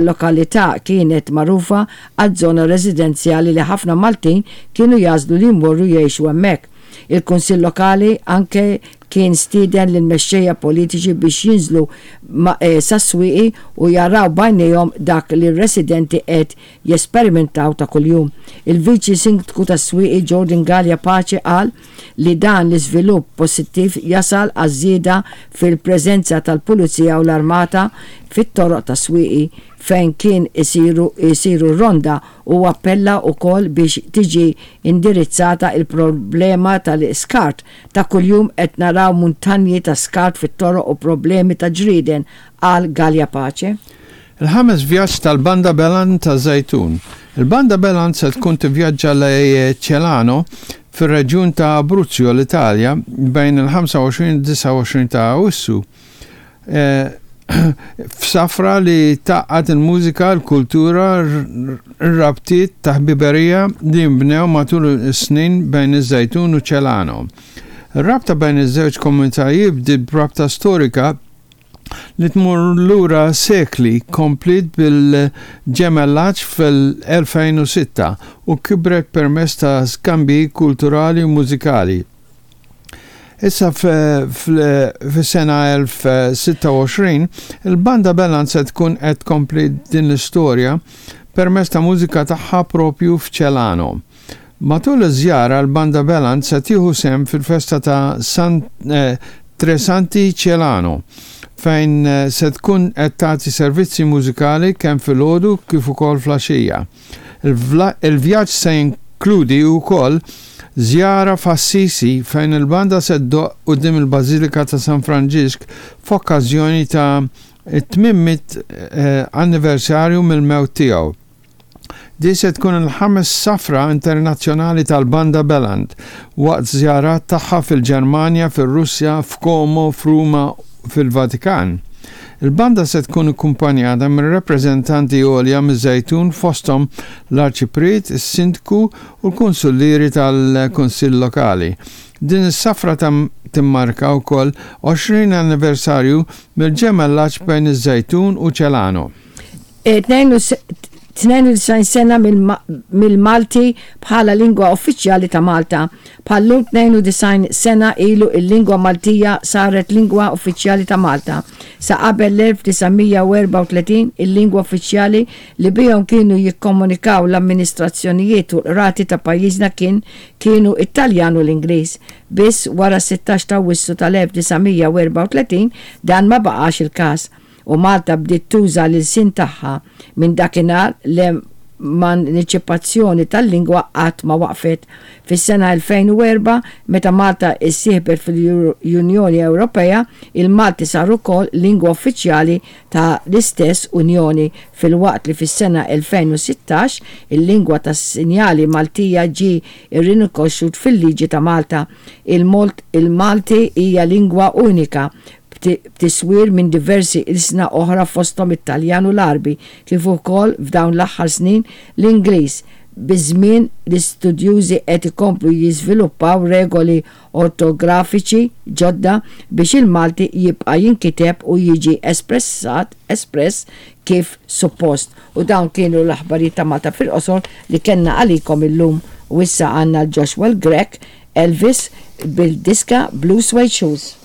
Lokalità kienet magħrufa għaż-żona residenzjali li ħafna Maltin kienu jagħżlu li jmorru jgħixu hemmhekk. Il-Kunsill Lokali anke kien stieden lill-mexxejja politiċi biex jinżlu sas-Swieqi u jaraw b'għajnejhom dak li r-residenti qed jesperimentaw ta' kuljum. Il-Viċi Sindku tas-Swieqi Jordan Galea Pace qal li dan l-iżvilupp pożittiv jasal għaż-żieda fil-preżenza tal-Pulizija u l-Armata fit-toroq tas-Swieqi fejn kien isiru jsiru r-ronda. Huwa appella wkoll biex tiġi indirizzata l-problema tal-iskart. Ta' kuljum qed naraw muntanji ta' skart fit-toroq u problemi ta' ġrieden, qal Galea Pace. Il-ħames vjaġġ tal-Banda Belan taż-Żejtun. Il-Banda Belan se tkun tivvjaġġa lejn Celano fir-reġjun ta' Abruzzo, l-Italja, bejn il-25 u 29 ta' Awwissu, f'safra li tgħaqqad il-mużika, l-kultura, r-rabtiet ta' ħbiberija li nbnew matul is-snin bejn iż-Żejtun u Celano. Ir-rabta bejn iż-żewġ komunitajiet bdiet b'rabta storika li tmur lura sekli, kompliet bil-ġemellaġġ fl-2006 u kibret permezz ta' skambji kulturali u mużikali. Issa fis-sena 1026, il-Banda Belan se tkun qed tkompli din l-istorja permezz ta' mużika tagħha proprju f'Celano. Matul iż-żjara l-Banda Beland se tieħu sehem fil-festa ta' San Tre Santi Celano fejn se tkun qed tagħti servizzi mużikali kemm filgħodu kif ukoll fl-għaxija. Il-vjaġġ se jinkludi wkoll żjara f'Assisi fejn il-banda se ddoqq quddiem il-Bażilika ta' San Franġisk f'okkażjoni ta' 800 anniversarju mill-mewt tiegħu. Din se tkun il-ħames safra internazzjonali tal-Banda Beland waqt żjarat tagħha fil-Ġermanja, fir-Russja, f'Como, f'Ruma u fil-Vatikan. Il-banda se tkun ikkumpanjata minn rappreżentanti għolja miż-Żejtun fosthom l-Arċipriet, is-Sindku u l-Kunsullieri tal-Kunsill Lokali. Din is-safra timmarka wkoll 20 anniversarju mill-ġemellaġġ bejn iż-Żejtun u Celano. 92 sena mill-Malti bħala lingwa uffiċjali ta' Malta. Bħal-lum 92 sena ilu il-lingwa Maltija saret lingwa uffiċjali ta' Malta. Sa qabel l-1934 il-lingwa uffiċjali li bihom kienu jikkomunikaw l-amministrazzjonijiet u l-qrati ta' pajjiżna kien kienu t-Taljan u l-Ingliż. Biss wara s-16 ta' Awwissu tal-1934 dan ma baqax il-każ. u Malta bdiet tuża l-ilsien tagħha. Minn dakinhar l-emanċipazzjoni tal-lingwa qatt ma waqfet. Fis-sena 2004, meta Malta issieħbet fil-Unjoni Ewropea, il-Malti sar ukoll lingwa uffiċjali ta' l-istess Unjoni filwaqt li fis-sena 2016 il-lingwa tas-sinjali Maltija ġie rrinokoxxut fil-liġi ta' Malta. Il-Malti hija lingwa unika b'tiswir minn diversi ilsna oħra fosthom it-Taljan u l-Għarbi, kif ukoll f'dawn l-aħħar snin l-Ingliż. Biż-żmien l-istudjużi qed ikomplu jiżviluppaw regoli ortografiċi ġodda biex il-Malti jibqa' jinkiteb u jiġi espressat espress kif suppost. U dawn kienu l-aħbarijiet ta' Malta fil-qosor li kellna għalikom illum. U issa għandna l-Joshua l-Grech, Elvis, bil-diska Blue Suede Shoes.